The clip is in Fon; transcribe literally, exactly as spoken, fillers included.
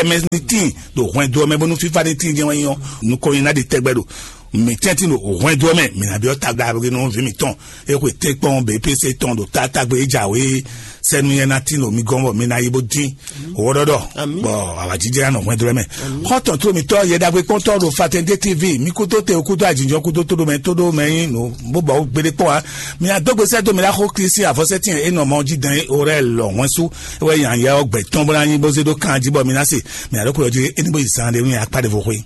ɛmɛ ní tíin ɖo hwɛndo ɔ́ mɛ bónú fífá ní tíin jɛ́n wɛ nyí ɔ́, nukɔn nyi ná ɖi tɛgbɛ ɖo mǐ tɛ́ntin ɖo hwɛndo ɔ́ mɛ, mǐ ná byɔ́ tagblaví nú vǐ mǐtɔn. É xwe tɛ́nkpɔ́n B P C tɔn ɖo tátágbe é jǎwe sɛ́nú nyɛ ná tín ɖo mi gɔ́n bɔ mi ná yi bó dín. Wɔɖɔɖɔ bɔ awǎjijɛ ná nɔ hwɛndo ɔ́ mɛ. Xɔ́ntɔn tó mitɔ yɛ ɖagbe kpɔ́ntɔ́ ɖo Fatɛndé T V, mi kúdó te kúdó ajínjɔ́n kúdó tóɖomɛ tóɖomɛ nyí nǔ bó bɔ gbéɖé kpɔ́n ǎ. Mi adógbesɛ dó mi ɖaxó Klísi avɔsɛ́tìn e nɔ mɔ jí dɛn é orɛ lɔ hwɛn sú é wɛ nya yɛ ɔ́ gbɛ tɔn bó ná nyí bó zé ɖó kan jí bɔ mi ná se. Mi aɖókòyɔ jí é ní bó yi zan ɖé nú akpá ɖěvo xwé.